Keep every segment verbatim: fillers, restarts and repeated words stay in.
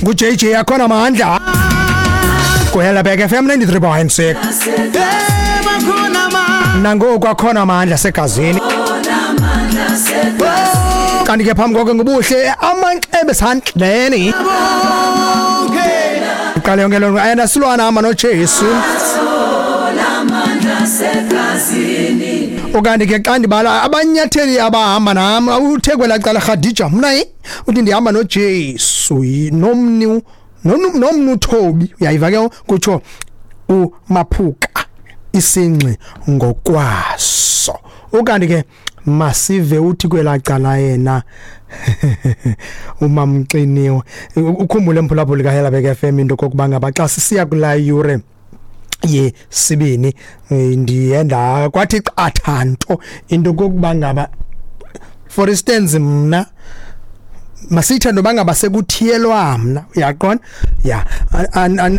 Ngu-J J akhona amandla kuHelabek F M ninety-three point six. Nangoku akhona amandla segazini. Kanti ke phambi koko ngubuhle amanxebe sandleni. Iqale yonke loo nto ayena silwana hamba noJesu. Ukanti ke xa ndibala abanyatheli abahamba nam uthe kwelaa cala Khadija mna uthi ndihamba noJesu nomni nomnu Thobi uyayiva ke kutsho uMaphuka isingxi ngokwaso. Ukanti ke masive uthi kwelaa cala yena uMamxiniwe ukhumbule mphulaphuli kaHelabek F M into kokuba ngaba xa sisiya kulaa yure yesibini ndiyenda kwathi qatha nto into kokuba ngaba for instance mna masithe noba ngaba sekuthiyelwa mna uyaqonda ya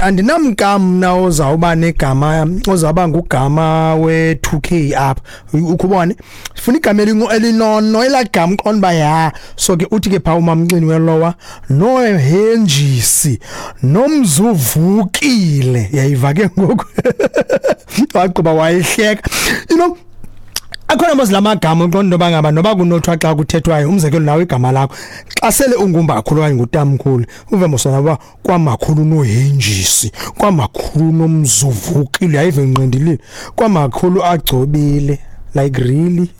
andinamka mna ozawuba negama ozawuba ngugama we two K apha ukubone sifuna igama elinono elagama uqonda ba ya so ke uthi ke pha uMamxini welowa no Henjisi nomzuvukile yayiva ke ngoku waqhuba wayihleka you know akhona mos lamagama uqonda noba ngaba noba kunothwa xa kuthethwayo umzekelo nawe igama lakho xa sele ungumbakhulu okanye ngutamkhulu uve mosona uba kwamakhulu noHenjisi kwamakhulu nomzuvukile yayive nqindilile kwamakhulu agcobile like really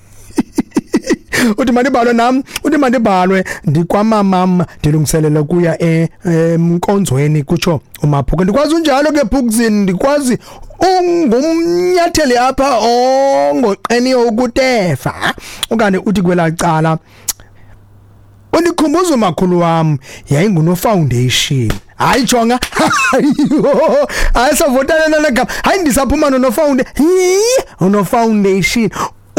uthi mandibhalwe nam uthi mandibhalwe ndikwamamam ndilungiselela kuya emkonzweni kutsho uMaphuka ndikwazi unjalo ke Phukzini ndikwazi ungumnyatheli apha ongoqeniyo ukutefa okanye uthi kwelaa cala undikhumbuza umakhulu wam yayinguno foundation hayi jonga hayi savotana nalagama hayi ndisaphuma nono foundation uno foundation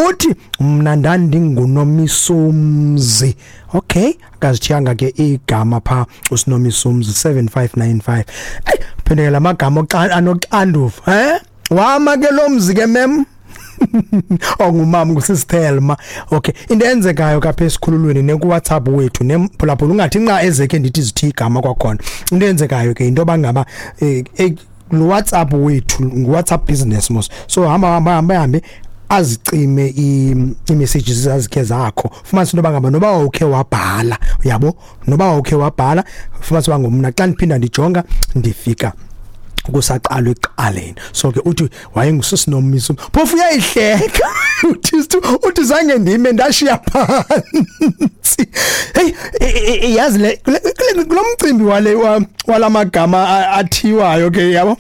uthi mna ndandingunomisomzi okay akazithiyanga ke igama pha uSinomisomzi seven five nine five hey phendukela amagama anoxanduva eh wama ke lo mzi ke mem ongumama ngusisithelma okay into enzekayo kapha esikhululweni ne ku WhatsApp wethu nemphulaphula ungathi nxa ezeke ndithi zithi igama kwakhona into enzekayo ke into bangaba eh lo WhatsApp wethu ngu WhatsApp business mos so hamba hamba hamba hambe azicime i-messages azikhe zakho fumanise into bangaba noba ukhe wabhala uyabo noba ukhe wabhala fumanise bangumna xa ndiphinda ndijonga ndifika kusaqalwe eqaleni so ke uthi wayenguSisinomiso phofu uyayihleka uthi uthi zange ndime ndashiya phansi hey yazi le kulomcimbi wale walamagama athiwayo ke yabo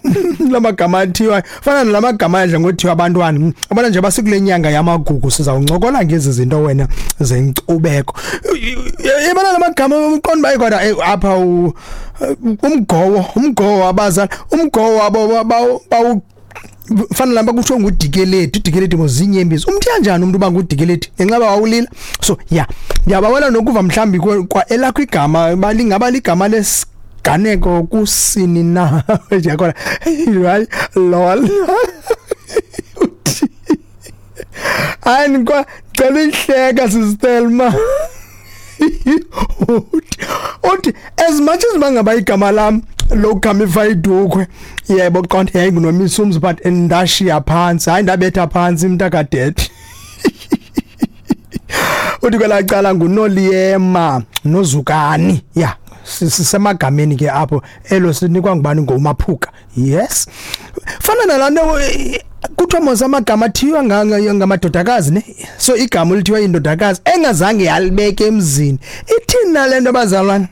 lamagama athiwayo fana nalamagama adla ngothiwa abantwana abana nje basikule nyanga yamagugu sizawuncokola ngezi zinto wena zenkcubeko yebana lamagama uqonda bayi kodwa apha umgowo umgowo abazali umgowo wabo bawu fana lamba kuthiwa ngudikeleti udikeleti mozinyembezi umthi kanjani umuntu uba ngudikeleti ngenxa bawulila so yeah ndiyabawela nokuva mhlambi kwa elakho igama balingaba ligama lesiganeko kusini na ndiyakona hayi lol hayi kwa cela ihleka sistelma uthi as much as bangaba igama lam lokugama idukhwe yebo qonde yayingunomisumzi but ndashiya phansi hayi ndabetha phansi umntakadede uthi kwelacala nguNoliyema noZukani ya sisemagameni ke apho elo sinikwa ngubani ngoMaphuka yes fana nalanto kuthiwa mos amagama athiwa ngamadodakazi ne so igama lithiwa indodakazi engazange yalibeka emzini ithini nalento bazalwane.